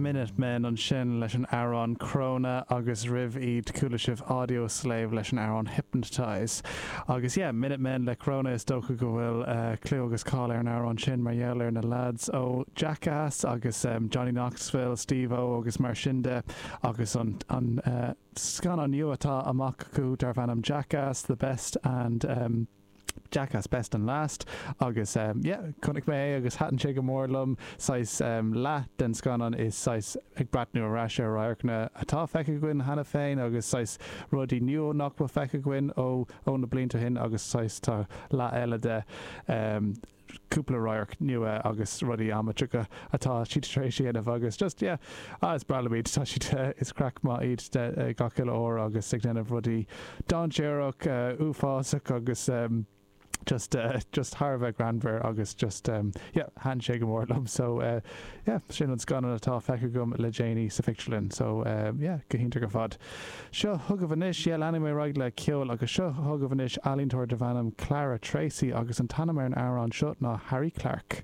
Minutemen ansin leis an amhrán Corona agus roimh iad chuala sibh Audioslave leis an amhrán Hypnotize. Agus yeah, Minutemen le Corona is dócha go bhfuil clú agus cáil ar an amhrán sin mar gheall ar na lads ó Jackass agus Johnny Knoxville, Steve-O agus mar sin de agus an an scannán nua atá amach acu darb ainm Jackass, The Best and. Jackass Best and Last agus yeah chonaic mé é agus thaitin sé go mór liom. Saghas leath den scannán is saghas ag breathnú ar ais ar radharcanna atá feicthe againn cheana féin agus saghas rudaí nua nach bhfuil feicthe againn ó ó na blianta ó shin agus saghas tá leath eile de cúpla radharc nua agus rudaí amaitéaracha atá siad tar éis a dhéanamh agus just yeah ah is breá liom iad tá siad is craic maith iad gach uile uair agus ag déanamh rudaí dainséarach uafásach agus just just thar a bheith greannmhar agus just yeah thaitin sé go mór liom so yeah sin an scannán atá feicthe agam le déanaí sa phictiúrlann so yeah go hiontach ar fad. Seo chugaibh anois, yeah, leanfaidh mé ar aghaidh le ceol agus seo chugaibh anois ealaíontóir darb ainm Clara Tracy agus an t-ainm ar an amhrán seo ná Harry Clarke.